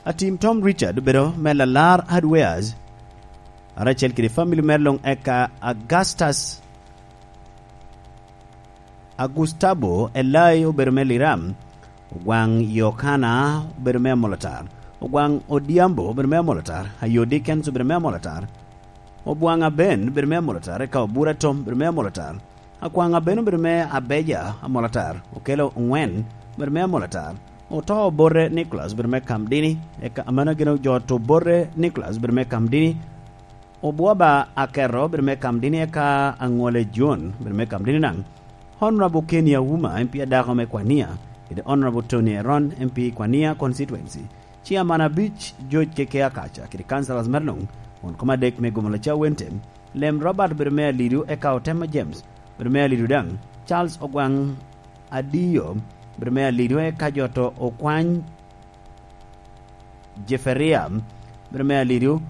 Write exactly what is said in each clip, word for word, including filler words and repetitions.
Atim Tom Richard obedo me Lalar Hardwares, karacel kede famili mere luŋ, eka Augustus, Agustabo Elai obedo me Liram, Ogwaŋ Yokana obedo me Amolatar, Ogwaŋ Odhiambo obedo me Amolatar, Ayo Dickens obedo me Amolatar, Obwaŋ Aben obedo me Amolatar, eka Obura Tom obedo me Amolatar, Akwaŋ Aben obedo me Abeja Amolatar, Okelo Oŋwen obedo me Amolatar, Oto Obote Nicholas obedo me Kamdini, eka amanagino jo Oto Obote Nicholas obedo me Kamdini, Obwoba Aketo obedo me Kamdini, eka Aŋole John obedo me Kamdini daŋ. Honorable Kenny Auma, M P adako me Kwania, kede Honorable Tony Eron, M P Kwania Constituency. Chairman abic, George Keke Akaca, kede councillors mere luŋ, won kom adek me Gomola Cawente, Lem Robert obedo me Alidu, eka Otema James obedo me Alidu daŋ, Charles Ogwaŋ Adiyo obedo me Alidu, eka jo Oto Okwany Jeferia obedo me Alidu,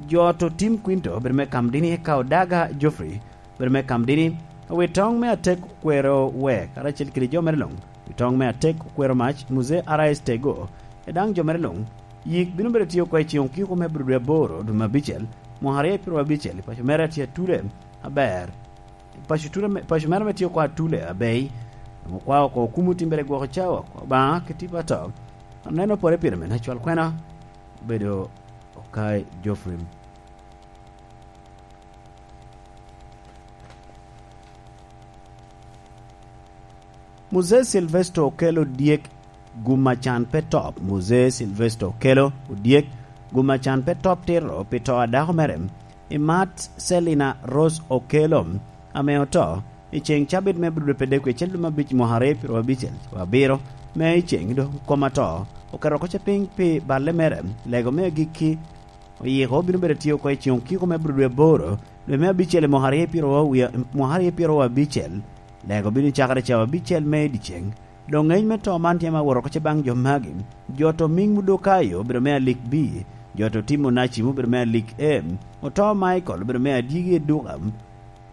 jo Oto Tim Quinto obedo me Kamdini, eka Odaga Geoffrey obedo me Kamdini, Owitoŋ me Atek Okwero Wek, karacel kede jo mere luŋ, Owitoŋ me Atek Okwero Mac, Muzee R S Tego, e daŋ jo mere luŋ. Yik bino bedo tye oko i ceŋ okiko me Abril dwe aboro, dwe me abicel, mwaka aryo i pyeraryo abicel, i paco mere atye Atule aber. Paco Atule me, paco mere me tye oko Atule abei. Okwao oko okumo timbere gwoko cawa, Obaŋa ki tipo ato. Aneno pore pire me nacwal kwena obedo Okai Geoffrey. Muzee Silvester Okello Odyek, gum a can pe top. Muzee Silvester Okello Odyek, gum a can pe top tito pi to a dako mere, Imat Selina Rose Okello, ame oto i ceŋ cabit me Abril dwe apar dek wiye acel dwe me abic mwaka aryo pyeraryo abicel wa abiro, me i ceŋ do kom ato oketo oko ce piny pi balle mere, lego me agikki oyiko bino bedo tye oko i ceŋ okiko me Abril dwe aboro, dwe me abicel i mwaka aryo pyeraryo wie-, mwaka aryo pyeraryo abicel. Lego bino cakere cawa abicel me i dyeceŋ. Doŋ ŋec me to man tye ma woro oko ce baŋ jo magi. Jo Oto Miŋ Mudokayo obedo me alik B, jo Oto Tim Onacim obedo me alik A, Oto Michael obedo me adyegi eduka,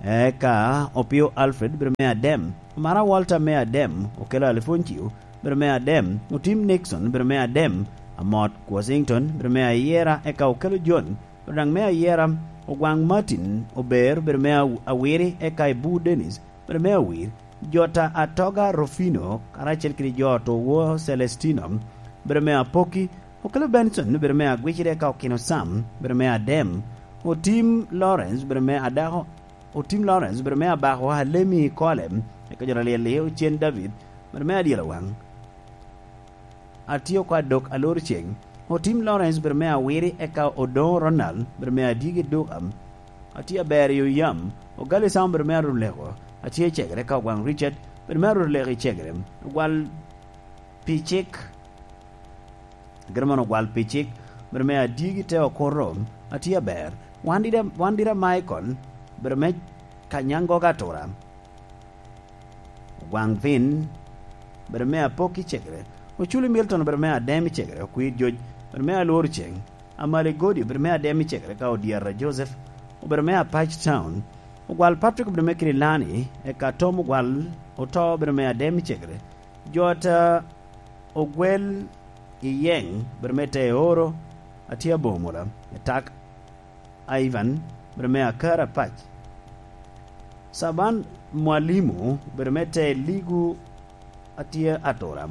eka Opio Alfred obedo me adem, Omara Walter me adem, Okello Alfoncio obedo me adem, Otim Nixon obedo me adem, Amot Washington obedo me ayera, eka Okello John obedo daŋ me ayera, Ogwaŋ Martin Ober obedo me aw-, awiri, eka Ibu Dennis obedo me awir, Jota Atoga Rufino karacel kede jo Oto Wor Celestino obedo me apoki, Okello Benson obedo me agwicide, eka Okino Sam obedo me adem, Otim Lawrence obedo me adako, Otim Lawrence obedo me abako, Alemi Kole, eka jo Alyel-li, Ocen David obedo me adyelo waŋ. Atye oko adok alor ceŋ. Otim Lawrence obedo me awiri, eka Odoŋo Ronald obedo me adyegi duka. Atye aber i oyam. Ogali Sam obedo me aruleko. Atye i cegere, eka Ogwaŋ Richard obedo me aruleko i cegere. Ogwal pi cik. Ageno mono ogwal pi cik, bedo me adyegi te okuto, atye aber. Wan dira, wan dira Michael, bedo me Kanyangoga Atura. Ogwaŋ Vin, bedo me apok i cegere. Oculi Milton, bedo me adem i cegere. Okwir Joc, bedo me alworo ceŋ. Amali Godi, bedo me adem i cegere, ka Odyata Joseph, obedo me Apac Town. Ogwal Patrick, bedo me Kirilani, eka Tom Ogwal Oto, bedo me adem i cegere. Jota Ogwel i Yeŋ, bedo me Teoro, atye aboŋo mola, Etak Ivan, bedo me Akara Pac. Saban Mwalimu, bedo me Te Ligu, atye Atura.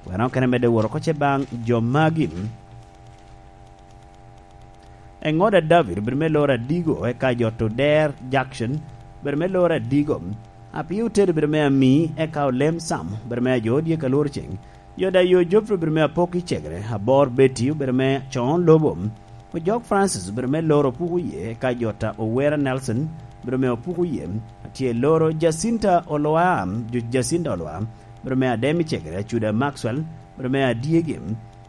Weno kene medde woro oko ce baŋ jo magi. Eŋoda David obedo me loro Adigo, eka Jot Oder Jackson obedo me loro Adigo. Apio Otedo obedo me Ami, eka Olem Sam obedo me Ajo Odyek Alwor Ceŋ. Jot Ayo Geoffrey obedo me Apok i Cegere. Abor Betty obedo me Con Lobo. Ojok Francis obedo me loro Puku Ye, eka Jota Owera Nelson obedo me Opuku Ye. Atye loro Jacinta Olwa, Ju-, Jacinta Olwa obedo me Adem i Cegere. Acuda Maxwell obedo me Adyegi.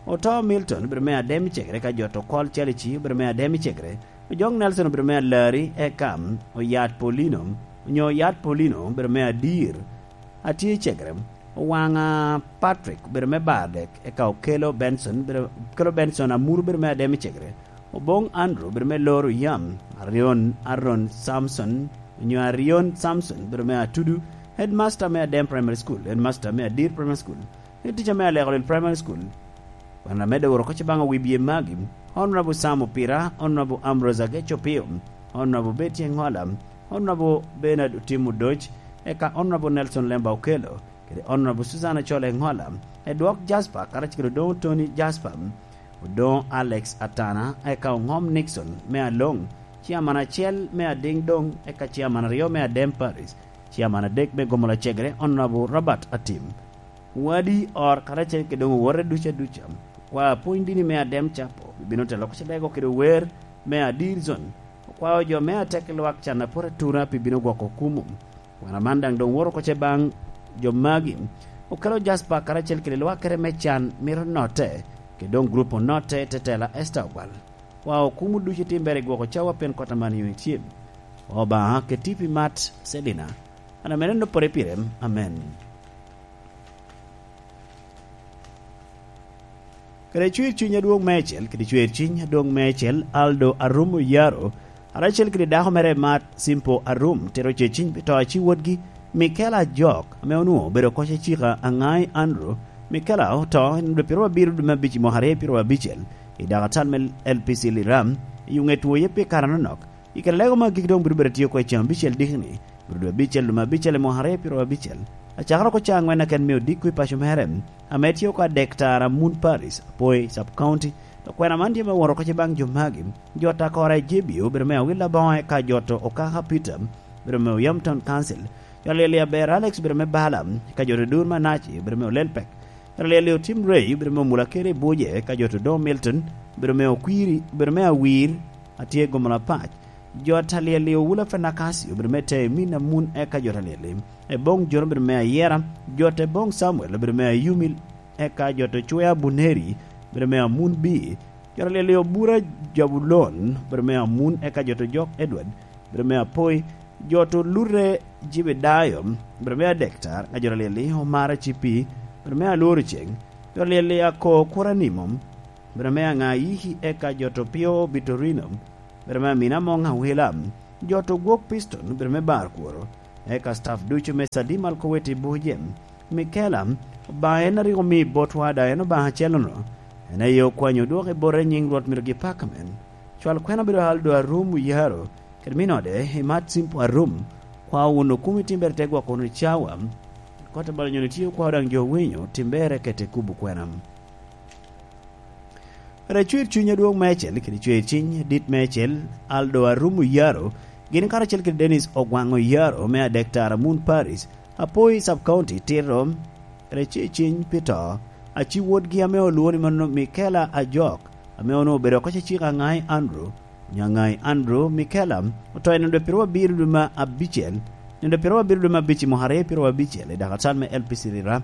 Oto Milton obedo me adem i cegere, ka Jot Okol Calici obedo me adem i cegere. Ojok Nelson obedo me alari, eka Oyat Paulino, onyo Oyat Paulino obedo me adir. Atye i cegere. Owaŋa Patrick obedo me bar dek, eka Okelo Benson, obedo, Okelo Benson Amuru obedo me adem i cegere. Oboŋ Andrew obedo me loro yam. Arion, Aaron Samson, onyo Arion Samson obedo me Atudu, headmaster me Adem Primary School, headmaster me Adir Primary School, head teacher me Aleko Lil Primary School. Wan amedde woro kocce baŋ owibye magi, Honorable Sam Opira, Honorable Ambrose Ageco Pio, Honorable Betty Engola, Honorable Bernard Otim Odoc, eka Honorable Nelson Lemba Okello, kede Honorable Susan Achol Engola, Edwok Jasper, karacel kede Odoŋo Tony Jasper, Odoŋo Alex Atana, eka Oŋom Nixon me Aloŋ, Chairman acel me Adiŋ Doŋ, eka Chairman aryo me Adem Parish, Chairman adek me Gomola Cegere, Honorable Robert Atim. Wadi or karacel kede doŋ owote duca duca. Kwa pwony dini me Adem Capo, bino telo kocce dego kede wer me Adir Zone. Okwao jo me atek lwak can apot atura pi bino gwoko kumo. Wan aman daŋ doŋ woro kocce baŋ jo magi. Okelo Jasper karacel kede lwakere me can mito notte, kede doŋ grup onotte tetela Esther Ogwal. Kwa okumo ducu itimbere i gwoko cawa pien kot aman yo itye. Obaŋa keti pi mat Selina. An amen enopore pire. Amen. Kede cwer cuny adwoŋ meicel, kede cwer cuny adwoŋ meicel, Aldo Arum Oyaro, aracel kede dako mere mat Simpo Arum, tero ceciny pi to aci wotgi, Mikel Ajok, ame onwoŋo obedo koc acika Aŋai Andrew. Mikel a oto, en obedo piro abiro dwe me abic i mwaka aryo piro abicel, i dakatal me L P C Liram, i ŋet woye pi kare anonok. I kare lego ma gik doŋ bino bedo tye oko i ceng abicel dikni, bino dwe abicel dwe me abicel i mwaka aryo piro abicel. Acakere oko caa aŋwen aken me odiko i paco mere, ame tye oko adek tara Moon Parish, Apoi Sub County. Okwena man tye me woro kocce baŋ jo magi. Jot akora i J B obedo me Awil Aboŋo eka jot Okaka Peter, obedo me Oyam Town Council. Jot Alyel Aber Alex obedo me Bala, eka jot Odur Manaci obedo me Olelpek. Jot Alyel Otim Ray obedo me Omula Kere i Buje, eka jot Odoŋo Milton obedo me Okwiri, obedo me Awir, atye Gomola Pac. Jot Alyel Owula Fenakasi obedo me Temin Amun, eka jot Alyel Eboŋ Jon obedo me Ayera, jot Eboŋ Samuel obedo me Ayumil, eka jot Ocwea Buneri obedo me Amun Bi, jot Alyel Obura Jabulon obedo me Amun, eka jot Ojok Edward obedo me Apoi, jot Olute Jibedayo obedo me Adektar, eka jot Alyel Omara Cipi obedo me Alworo Ceng, jot Alyel Ako Kuranimo obedo me Aŋayiki, eka jot Opio Bitorino obedo me Amina Amoŋ Awila, jot Ogwok Piston obedo me Bar Kworo, eka staff ducu me Sadim Alkoweti Buje. Mikela, Obaŋa en a rik omi botwa, daŋ en Obaŋa acel-nu. En aye okwanyo odwoke bote i nyiŋ Rwot myero gipakamen. Cwal kwena bedo Aldo Arum Oyaro, kede min ode, Imat Simpo Arum, kwa wun okumi timbere te gwoko wunu cawa. Kot a balo nyono tye okwa daŋ jo winyo, timbere kete kubo kwena. Kede cwer cuny adwoŋ meicel, kede cwer cuny adit meicel, Aldo Arum Oyaro, gin karacel kede Dennis Ogwaŋ Oyaro me Adek Tara Moon Parish, Apoi Sub County, tito kede cwer cuny pi to, aci wotgi ame olwoŋo ni mano Mikela Ajok, ame onwoŋo obedo oko cecika Aŋai Andrew, Nyaŋai Andrew Mikela, oto i nino dwe piro abiro dwe me abicel, nino dwe piro abiro dwe me abic i mwaka aryo piro abicel, i dakatal me L P C Rira.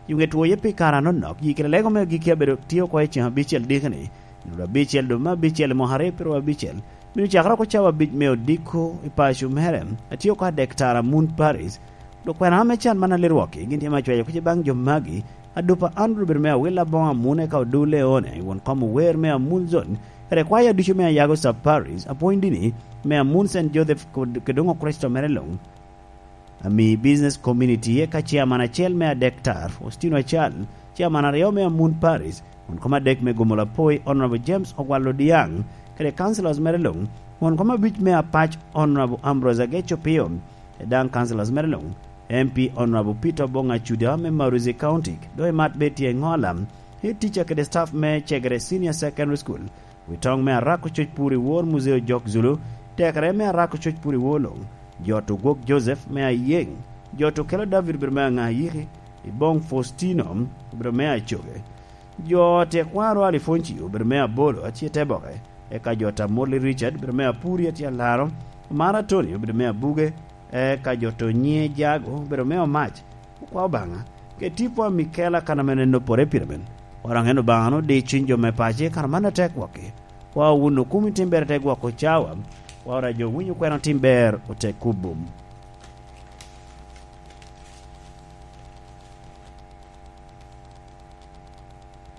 Yo ŋet woye pi kare anonok, yi kede lego me agikki abedo tye oko i ceng abicel dikeni, nino dwe abicel dwe me abicel i mwaka aryo piro abicel, mino cakere oko cawa abic me odiko i paco mere, atye oko Adek Tara Moon Parish, dok kwena ame can man alirwokki, gin tye me acweyo kuc i baŋ jo magi, Adupa Andrew obedo me Awil Aboŋo Amun, eka Odu Leone, won kom ower me Amun Zone, kede kwaya ducu me Ayago Sub Parish, apwony dini me Amun Saint Joseph kod, kede doŋ Okricito mere luŋ. Ami Business Community, eka chairman acel me Adek Tar, Faustino Acal, chairman aryo me Amun Parish, won kom adek me Gomola Poi, Honorable James Ogwal Odiaŋ, kede councillors mere luŋ, won kom abic me Apac, Honorable Ambrose Ageco Pio, kede daŋ councillors mere luŋ, M P Honorable Peter Obong Acuda me Maruzi County, doŋ Imat Betty Engola, head teacher kede staff me Cegere Senior Secondary School, Witoŋ me Arako Coc Pur i Wor Muzeo Jok Zulu, tekere me Arako Coc Pur i Wor Luŋ, Jot Ogwok Joseph me Ayeŋ, Jot Okelo David obedo me Aŋayiki, Iboŋ Faustino obedo me Acoge, Jot Ekwaro Alifonci obedo me Abolo atye Teboke, eka Jot Amoli Richard obedo me Apuri atye Alaro, Omara Tony obedo me Abuge, eka Jot Onye Jago obedo me Omac, Okwa Obaŋa, keti pwa Mikela kan ame en opore pire men. Waraŋ en Obaŋa no di cuny jo me pace kan man atek gwokki. Kwa wun okumi tim ber te gwoko cawa. Kwa wora jo winyo kwena tim ber ote kubum.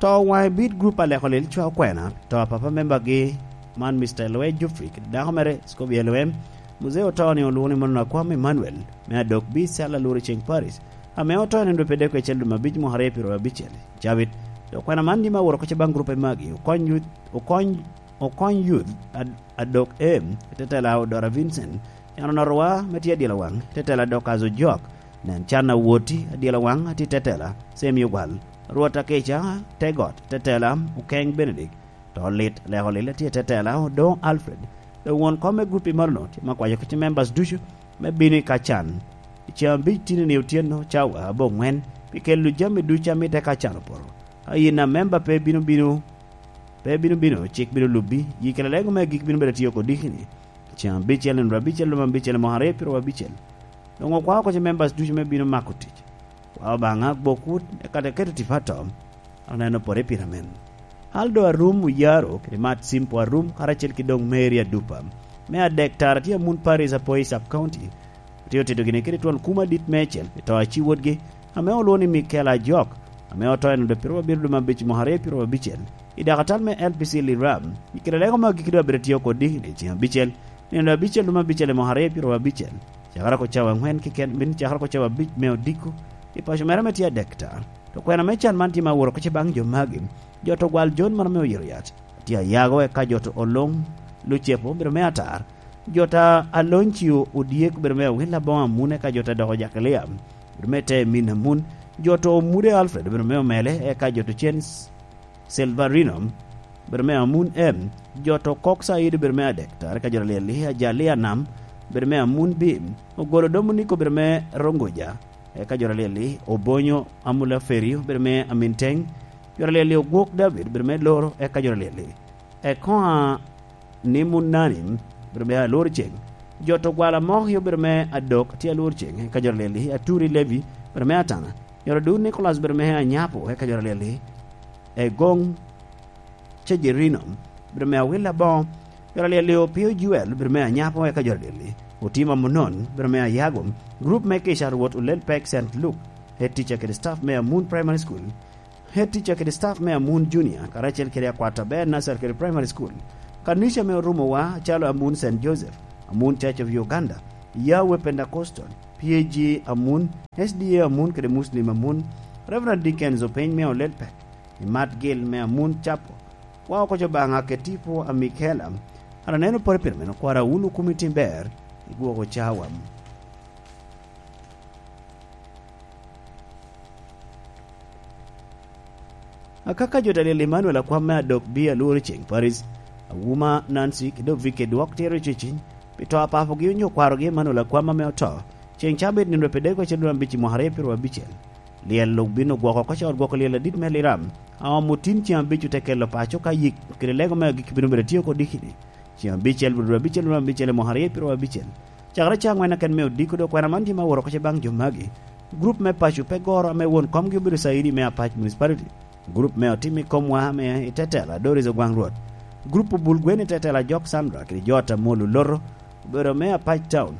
To waŋe bit grup a leko lel cwa okwena, to a papa membagi man Mister Lwe Jufri, kede dako mere Scobie Lwe, Muzee oto ni olwoŋo ni Mono Akwam Emmanuel, me Adok B Cell Aluru Ceng Parish, ame oto i nino dwe pede kwecel dwe me abic mwaka aryo piro abicel. Cabit, Dok kwena man ni me awot oko ce baŋ gurupe magi, okony youth, okony, okony youth ad-, adok em, i tetela Odora Vincent, en onotowa me tye adilo waŋ, i tetela Dorcas Ojok, nen can awoti adilo waŋ, atye i tetela Semi Ogwal, Rwot Akeca, Tegot, tetela Okeny Benedict, to lit, leko lil atye i tetela Odoŋ Alfred, dok won kom me gurup i malono, tye me akwayo kici members ducu, me bino i Kacan. I ceŋ abic tinini otyeno cawa aboŋwen, pi kelo jami ducu a mitte Kacan opoto. Ka in a memba pe bino bino, pe bino bino, cik bino lubbi, yi kede lego me agik bino bedo atiyo kodikini. Ceŋ abicel, nino abicel, lum abicel, mwaka aryo pyero abicel. Doŋ okwao oko ce members ducu me bino mako tic. Kwa Obaŋa gwok wut, eka te keto tipo ato. Aneno pore pira men. Aldo Arum Oyaro, kede Mat Simpo Arum, karacel ki doŋ Mary Adupa. Me adek tara tye Amun Paris Apoi Sub County. Otye otedo gini kede twon kuma dit meicel, pi to aci wotgi, ame olwoŋo ni Mikel Ajok, ame oto en odo pyero abiro dum abic mwaka aryo pyero abicel. I dakatal me L P C Liram, i kede lego me agikki doŋ abedo tye oko dikini ceŋ abicel, nino abicel dum abicel i mwaka aryo pyero abicel. Cakere oko cawa aŋwen kiken, bin cakere oko cawa abic me odiko, i paco mere ame tye adek tara. To kwena me can man tye ma aworo kici baŋ jo magi, jo to gwal Jon man ame oyito yat. Atye ayago eka jo to oloŋ Lucepo obedo me atar. Jo ta Aloncio Odyek obedo me awil aboŋo Amun eka jo ta doko Jakilia obedo me te min Amun. Jo to Omude Alfred obedo me omele eka jo to cen Silverino obedo me Amun M. Jo to Kok Said obedo me adek tara eka jo ta Lyeli Ajali Anam obedo me Amun B. Ogolo Dominiko obedo me Rongoja eka jo ta Lyeli Obonyo Amula Feri obedo me Aminteng. Jo ta Lyeli Ogwok David obedo me Loro eka jo ta Lyeli Ekoa ni Munani obedo me Alwor Ceng. Jo to gwala mok yo obedo me Adok tye Alwor Ceng eka jo ta Lyeli Aturi Levi obedo me Atana. Jo ta Dur Nicholas obedo me Anyapo eka jo ta Lyeli Egong Cejerino obedo me Awil Aboŋo. Jo ta Lyeli Opio Juel obedo me Anyapo eka jo ta Lyeli Otima Munon obedo me Ayago. Grup me Kica Rwot Olel Pek Saint Luke, head teacher kede staff me Amun Primary School. Head teacher kede staff me Amun Junior, karacel kede akwat aber Nasser kede Primary School. Kanica me orumowa acalo Amun Saint Joseph, Amun Church of Uganda, Yahweh Pentecostal, P A G Amun, S D A Amun kede Muslim Amun, Reverend Dickens Openy me Olel Pek, Imat Gil me Amun Chapo, wa oko co Obaŋa kede tipo a Mikela, an aneno pore pire meno kwara wun okumi tim ber, igwoko cawa. Akaka jo ta Lyel Emmanuel akwam me Adok B Alworo Ceng Paris, Awuma Nancy kede Ovike dwok tye rec iciny, pi to a papogi onyo kwarogi Emmanuel akwam ame oto, ceŋ cabit nino pi dego acel dwe abic i mwaka aryo pyero abicel. Lyel obin ogwoko oko ca ot gwoko lyel adit me Liram, a omo tin ceŋ abic ote kelo paco ka yik kede lego me agikki bino bedo tye oko dikini. Ceŋ abicel, dwe abicel, dwe abicel, i mwaka aryo pyero abicel. Cakere ca aŋwen aken me odiko, dok kwena man tye ma woro oko ce baŋ jo magi. Grup me paco pe goro ame won komgi obedo Caidi me Apac Municipality. Grup me otim i komwa ame i tetela Doris Ogwaŋ Rwot. Grup obul gwen i tetela Jok Sandra kede jo Atamol Oloto obedo me Apac Town.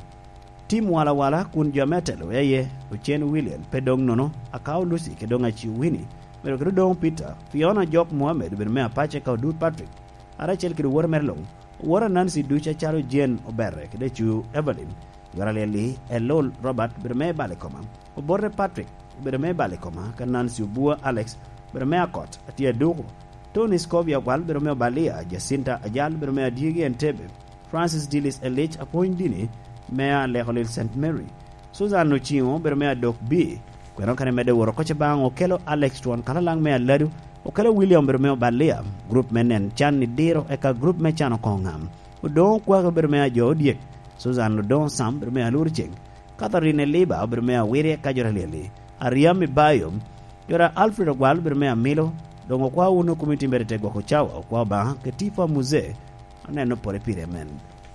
Tim walawala kun jo ame atelo wea iye, Ocen William, pe doŋ nono, Akao Lucy, kede doŋ Aciu Winnie, obedo kede Odoŋo Peter, Fiona Jok Mohammed, obedo me Apac eka Odur Patrick, karacel kede owote mere luŋ, owote Nancy ducu acalo Jane Oberre kede Acu Evelyn, Jora Lyel-li Elul Robert obedo me Balikoma, Obote Patrick obedo me Balikoma, ka Nancy Obua Alex obedo me Akot, Atia Duku, Tony Scovia Ogwal obedo me Obalia, Jacinta Ajal obedo me Adyegi Entebbe, Francis Dillis Elic apwony dini me Aleko Lil Saint Mary, Susan Ociŋo obedo me Adok B. Kweno kene medde woro koc baŋ okelo Alex Twon Kalalaŋ me Aladu, okelo William obedo me Obalia, grup me nen can i diro eka grup me can okoŋo ŋam. Odoŋo Okwaka obedo me Ajo Odyek, Susan Odoŋo Sam obedo me Alur Ceng, Catherine Eliba obedo me Awiri eka jo ta Lyel-li, Ariam Ibayo, jo ta Alfred Ogwal obedo me Amilo, doŋ okwa wun okumi tim bed i te gwoko cawa, okwa Obaŋa, kede tipo a Muzee, aneno pore pire men.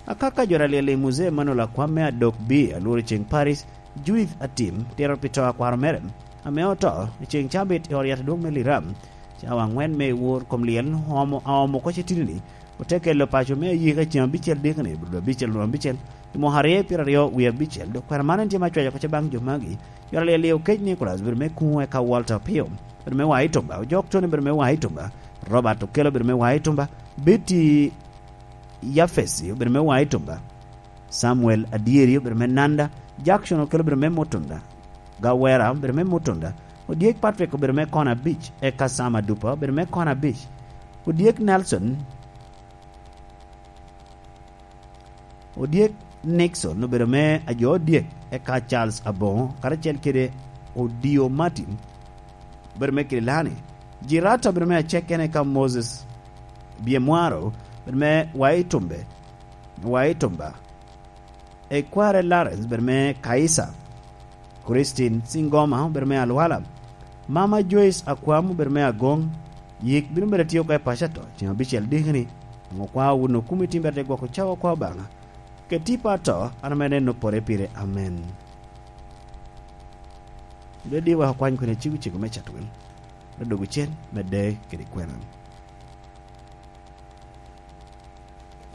Akaka jo ta Lyel-li Muzee Emmanuel akwam me Adok B Alur Ceng Paris, Judith Atim, tito pi to a kwaro mere, ame oto, i ceŋ cabit i ot yat adwoŋ me Liram, cawa aŋwen me i wor kom lyel, omo, aomo koc i tini-ni, ote kelo paco me ayika ceŋ abicel dikni, dwe abicel, dwe abicel, i mwaka aryo pyeraryo wie abicel, dok kwena man en tye ma cwaco oko ce baŋ jo magi. Jo ta Lyel-li Okec Nicholas obedo me Kuŋo eka Walter Opio obedo me Waitumba, Ojok Tony obedo me Waitumba, Robert Okello obedo me Waitumba, Betty Yafesi obedo me Waitumba, Samuel Adyeri obedo me Nanda, Jackson Okello obedo me Mutunda, Gawera obedo me Mutunda, Odyek Patrick obedo me kona abic, eka Sam Adupa obedo me kona abic. Odyek Nelson, Odyek Nixon obedo me ajo odyek, eka Charles Aboŋo karacel kede Odio Martin obedo me Kirilani. Jirata obedo me acek kene, eka Moses Byemwaro obedo me Waitumbe, Waitumba. Ekware Lawrence obedo me Kaisa. Christine Singoma obedo me Alwala. Mama Joyce Akwam obedo me Agoŋ. Yik bino bedo atye oko i paco ato ceŋ abicel dikeni. Onwoŋo kwa wun okumi tim bete gwoko cawa kwa Obaŋa. Keti pa ato, an ame neno pore pire. Amen. Dwe di wek okwany kwene cego cego me catwel. Me dogo cen, me de kede kwena.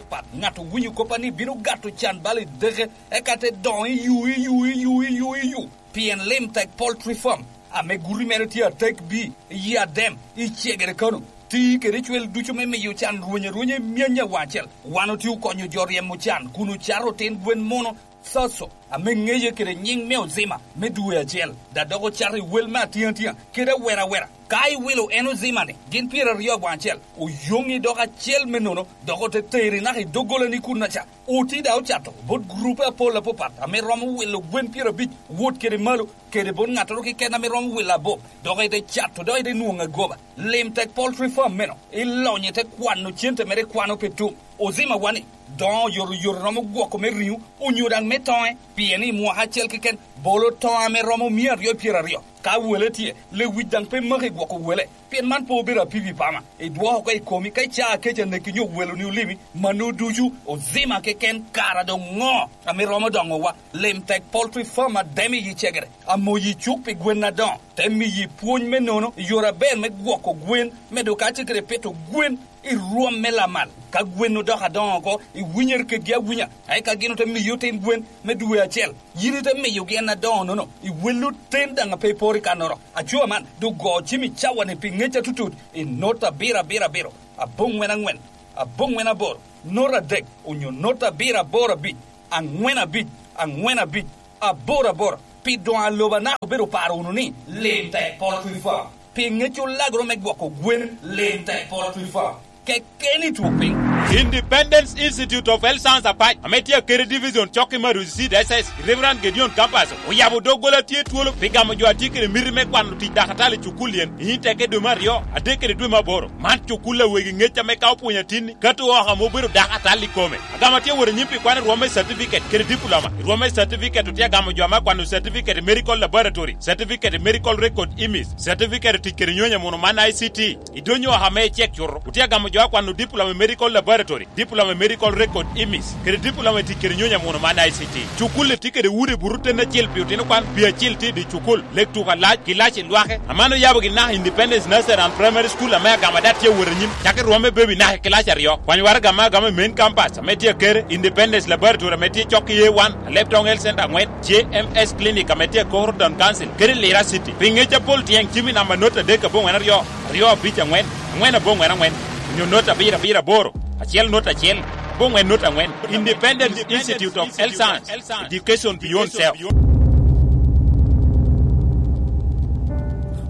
Pat, ŋat owinyo koppa ni bino gato can bal i deke, eka te doŋo i yu, i yu, i yu, i yu, i yu. Pien Lim Tek Poultry Farm, ame guti mere tye atek bi, i Adem, i Cegere Kano, ti kede cwel ducu me miyo can rweny arwenya i myany awaŋ acel. Wan otye okonyo jo ryemo can kun ocato otin gwen muno, Soso, ame ŋeye kede nyiŋ me Ozima me dwe acel, da dok ocato i wel me atiŋatia kede awera awera. Ka iwilo en Ozima-ni gin pyeraryo awaŋ acel, oyoŋi dok acel me nono, dok ote teri naka i doggolani kunnaca. Oti da ocato bot gurupe apol apapat ame romo wilo gwen pyerabic wot kede malo, kede bot ŋattoro keken ame romo wilo abop, dok ite cato, dok ite nwoŋo agoba. Lim Tek Poultry Farm meno, ilonyo ite kwano cente mere, ikwano pe tum. Ozima wani, doŋo oyotoyot romo gwoko me riŋo, onyo daŋ me toŋe, pien i mwaka acel keken bolo toŋo ame romo mia aryo i pyeraryo. Ka wele tye, lewic daŋ pe maki gwoko wele, pien man pe obedo apipi pama. Idwoko oko i komi ka icaa kec aneki nyo weloni olimi, mano ducu Ozima keken. Kara doŋ ŋo ame romo doŋowa? Lim Tek Poultry Farm Adem i Cegere, amoyi cuk pi gwen adoŋo, te miyi pwony me nono i yore aber me gwoko gwen, medo kacel kede pito gwen i rwom me lamal. Ka gwen odoko adoŋo oko, iwinyere kedgi awinya, eka gin ote miyi otin gwen me dwe acel. Yin ite miyogi en adoŋo-nono, iwelli oten daŋ a pe iporo i kannoro. Aco man, doŋ go cim i cawa-ni pi ŋec atutut, i nota abiro abiro abiro, aboŋwen aŋwen, aboŋwen aboro, nota adek, onyo nota abiro aboro abic, aŋwen abic, aŋwen abic, aboro aboro. Pi doŋ a lobo anaka obedo paro wunu ni, Lim Tek Poultry Farm. Pi ŋec olagoro me gwoko gwen, Lim Tek Poultry Farm. Kekeni twok piny. Independence Institute of Health Science Apac, ame tye Akere Division, cok i Madusi Diocese, Reverend Gedeon Campus, oyabo doggola tye twolo pi gamo jo a tye kede miti me kwano tic dakatali i cukul yen, i Inteke dwe me aryo, adek kede dwe me aboro. Man cukul a wegi ŋec ame ka opwonyo atinni, kato oko ame obedo dakatali i kome. Agamo atye wot anyim pi kwano i rwom me certificate kede diploma. I rwom me certificate otye agamo jo ame akwano certificate i medical laboratory, certificate i medical record image, certificate i tic kede nyonyo amuno man I C T. I dwonyo oko ame icek cuto, otye agamo jo akwano diploma i medical laboratory, diploma i medical record image, kede diploma i tic kede nyonyo amuno man I C T. Cukul-li tye kede udi buto ten acel pi otino kwan, pi acil tye i dye cukul, lek tuko alac, ki lac i lwake. Aman oyabo gin naka Independence Nursery and Primary School ame agamo ada tye awot anyim, cako i rwom me baby naka i kilac aryo. Kwany waraga ame agamo i main campus ame tye Akere, Independence Laboratory ame tye cok i A one, Alebtong Health Center aŋwen, J M S Clinic ame tye i Koro Town Council, kede Lira City. Pi ŋec apol tyeŋ cim i namba not adek aboŋwen aryo, aryo abic aŋwen, aŋwen aboŋwen aŋwen, onyo not abiro abiro aboro, acel not acel, aboŋwen not aŋwen. Independence Institute of Health Science, Education Beyond Self.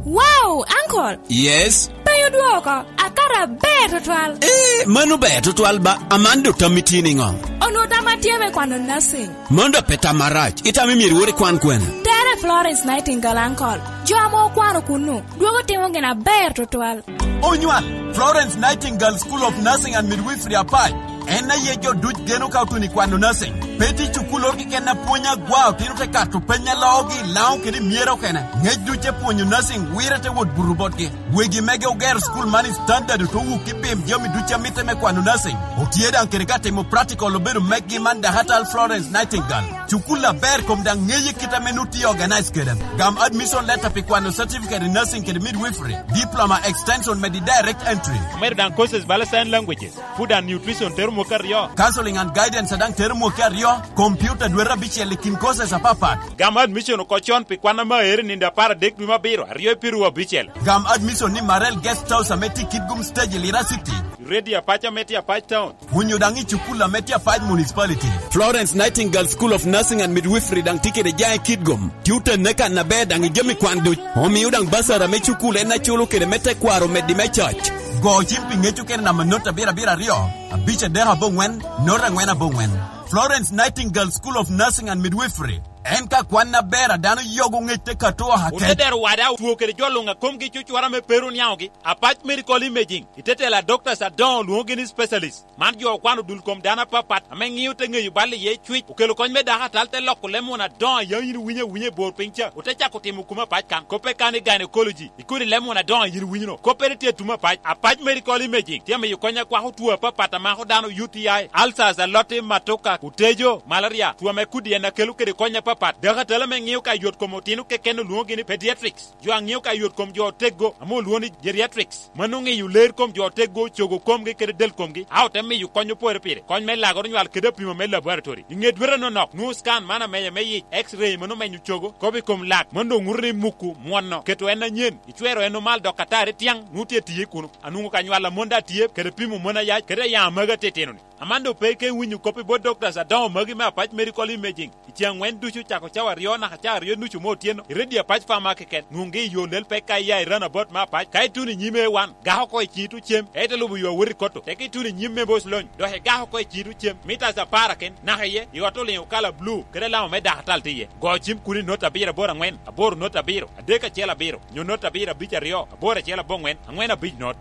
Wow, uncle! Yes? Pe odwoko, akato aber tutwal. Eh, mano ber tutwal ba, aman do tammi tye niŋo? Onwo tamma tye me kwano nursing. Mano dok pe tam marac, itamo myero iwot ikwan kwene? Tere Florence Nightingale, uncle. Jo ame okwano kunnu, dwogo timo gin aber tutwal. Onywal, Florence Nightingale School of Nursing and Midwifery Apac. En aye jo duc geno ka otuno i kwano nursing. Pe tye cukulloro keken a pwonyo agwa, otino te kato peny a loogi i Laŋo kede i Myero okene. Ŋec duc te pwonyo nursing wire te wot buto botgi. Wegi mege ogero cukul man i standard oto wuk i pim jami ducu a mitte me kwano nursing. Otye daŋ kede ka timo practical obedo meggi man Dakatal Florence Nightingale. Cukul aber kom daŋ ŋeye kit ame nut tye organize kede. Gam admission letter pi kwano certificate in nursing kede midwifery, diploma extension medi direct entry. Omedo daŋ courses bala sign languages, food and nutrition tero mwaka aryo. Counseling and guidance daŋ tero mwaka aryo. Computer dwete abicel i kin courses apapat. Gam admission oko con pi kwan ame aero i nino apar adek dwe me abiro, aryo i piru abicel. Gam admission ni Marel Guest House ame tye i Kitgum Stage i Lira City. Ready Apac ame tye Apac Town. Onyo daŋ i cukul ame tye Apac Municipality. Florence Nightingale School of Nursing and Midwifery daŋ tye kede jaŋ i Kitgum. Tye otenne kan aber daŋ i jami kwan duc. Omio daŋ basar ame cukul en aculo kede me tekwaro meddi me coc. Go cim pi ŋec okene namba not abiro abiro aryo, abic adek aboŋwen, not angwen aboŋwen. Florence Nightingale School of Nursing and Midwifery. En ka kwan aber a dano yogo ŋec te kato aket. Otedero wada otwo kede jo luŋ a komgi cucwara me pero niaŋogi. Apac Medical Imaging, i te telo a doctors adoŋo lwoŋogi ni specialist. Man jo okwano dul kom dano apapat ame ŋio te ŋeyo bal iye cwic, okelo kony me dako atal te loko leb muna adoŋo a yam in iwinyo awinya i bor piny ca, ote cako timo kuma apac kan, koppe kan i gynecology, i kodi leb muna adoŋo a in iwinyo no. Koppere tye atum apac. Apac Medical Imaging tye amiyo kony akwako two apapat a mako dano, U T I, ulcers, aloti, matoka, otejo, malaria, two ame kudi en akelo kede kony apapat. Dako atal ame ŋio ka yot kom otino keken olwoŋogi ni pediatrics. Jo a ŋio ka yot kom jo oteggo ame olwoŋo ni geriatrics. Mano ŋeyo ler kom jo oteggo, cogo komgi kede del komgi, a ote miyo kony opore pire, kony me lagoro nywal kede apimo me laboratory. I ŋe dwete anonok, nwoŋo scan man amenya me yic, X-ray mano menyo cogo, kop i kom lak, mano doŋ ŋuto ni muku, mwono, keto en anyen, icwero en omal dok atari tiaŋ, nwoŋo tye tiye kuno. Anwoŋo ka nywal a mon daŋ tye, kede pimo mon ayac, kede ayaŋ amagi atitino-ni. Amando pe ka iwinyo kop i bot doctors adoŋo magi me Apac Medical Imaging. I ceŋ aŋwen ducu cako cawa aryo naka cawa aryo nucu me otyeno, i redio Apac Pharma keken, nwoŋgi i yo lel pek ka iya i Runabout me Apac, ka ituno i nyim A one, gak oko i ciŋi tuŋ cem, ka ite lubo yo awot i Kotto, teke ituno i nyim me Boss Lony, dok igak oko i ciŋi tuŋ cem, mitas apar aken, naka iye, i ot oliŋo kala blu, kede alama me dakatal tye iye. Go cim kun i not abiro aboro aŋwen, aboro not abiro, adek acel abiro, nyo not abiro abic aryo, aboro acel aboŋwen, aŋwen abic not.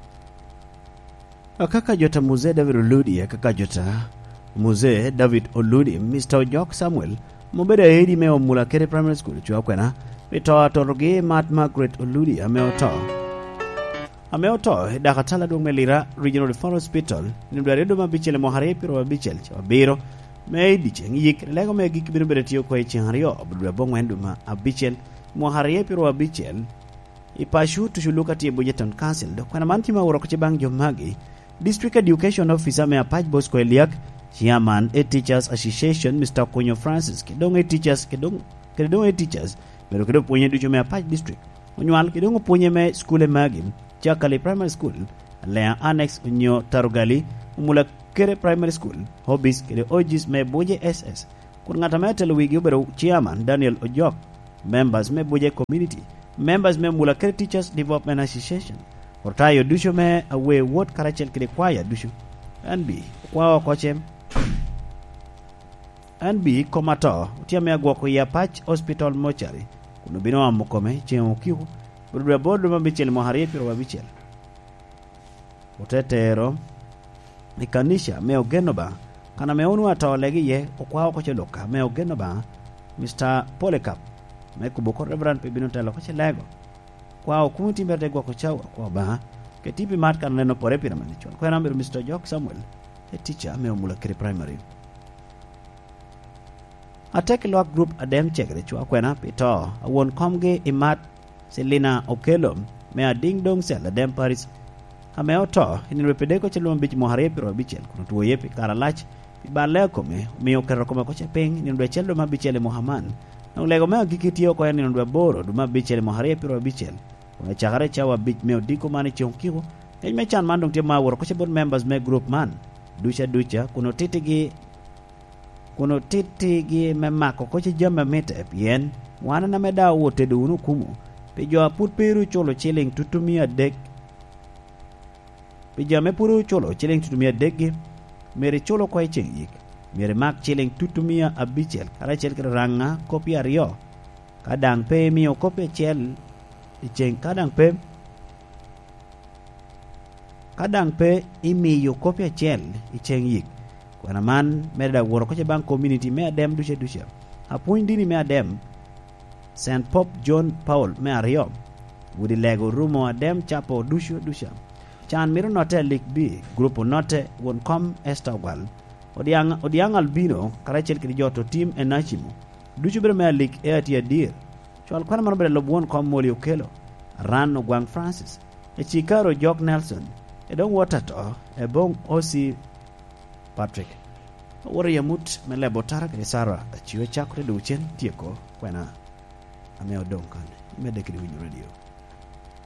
Akaka jota Muzee David Oludi, akaka jota Muzee David Oludi, Mister Ojok Samuel, ame obedo aedi me Omula Kede Primary School, cwa kwena, pi to atotogi Mat Margaret Oludi, ame oto. Ame oto, i dak atala adwoŋ me Lira Regional Referral Hospital, nino dwe aryo dwe me abicel i mwaka aryo pyero abicel, cawa abiro, me i dyeceŋ yik, lego me gik bino bedo tye oko i ceŋ aryo, dwe aboŋwen dwe me abicel, mwaka aryo pyero abicel, i paco tucu luk atye i Buja Town Council, dok kwena man tye ma oworo oko ce baŋ jo magi. District Education Officer me Apac Bosco Eliak, Chairman e Teachers Association, Mister Okunyo Francis, kede doŋ e teachers, kede doŋ, kede doŋ e teachers, bedo kede opwonye ducu me Apac District, onywal kede doŋ opwonye me skule magi, Cakali Primary School, Alea Annex, onyo Tarugali, Omula Kede Primary School, Hobbies, kede O Gs me Buje S S. Kun ŋat ame atelo wigi obedo Chairman Daniel Ojok, members me Buje Community, members me Mula Kede Teachers Development Association, otayo ducu me Awe Ward karacel kede kwaya ducu. N B, okwao oko cem. N B kom ato, otye ame agwoko i Apac Hospital Mortuary, kun obino omo kome ceŋ okiko, obedo dwe aboro dwe me abicel mwaka aryo pyero abicel. Ote tero i kanica me Ogen Obaŋa, kan ame onwoŋo atoo lege iye, okwao oko ce Luka me Ogen Obaŋa, Mister Polycarp, me kubo oko Reverend pe bino telo oko ce lego. Kwao komiti mere te gwoko cawa, kwao Obaŋa, keti pi mat kan oneno pore pire mene con. Kwena obedo Mister Ojok Samuel, e teacher me Omula Kede Primary. Atek i lwak grup Adem Cegere cwa kwena pi to a won komgi i mat Selina Okello me Ading Dong Cell Adem Paris, ame oto i nino dwe Pedeko cel dwe me abic mwaka aryo pyero abicel, kun otwoye pi kare alac pi balle a kome, omio oketo kome oko ce piny i nino dwe acel dwe me abicel i mwaka man. Dok lego me agikki tye oko i nino dwe aboro dwe me abicel i mwaka aryo pyero abicel, kun acakere i cawa abic me odiko man i ceŋ okiko. Kec me can man doŋ tye ma awot oko ce bot members me grup man duca duca, kun otittigi kun otittigi me mako koc i jami a mitte, pien wan en ame daŋ otedo wunu okumo pi jo a pwod pe ru culo ciliŋ tutumia adek, pi jo ame pwod ru culo ciliŋ tutumia adekgi, myero icul oko i ceŋ yik, myero imak ciliŋ tutumia abicel karacel kede raŋa koppi aryo, ka daŋ pe imio koppi acel i ceŋ, ka daŋ pe Ka daŋ pe imiyo koppi acel i ceŋ yik, kwena man mere daŋ wot oko ce baŋ komuniti me Adem duca duca. Apwony dini me Adem, Saint Pope John Paul me aryo, udi lego orumo Adem capo ducu duca. Can mito notte alik bi, gurup onotte, won kom Esther Ogwal, Odiaŋ, Odiaŋ Albino, karacel kede jo Totim Enacimo, ducu bedo me alik e atye adir. Cwal kwana man obedo alub won kom Moli Okello, Aran Ogwaŋ Francis, Ecikaro Jok Nelson, Edong Wot Ato, Ebong O C Patrick. Awoto i amut me lebo otara kede Sara, acio acakere doŋ cen tyeko kwena ame odoŋ kan. Imedde kede winyo radio.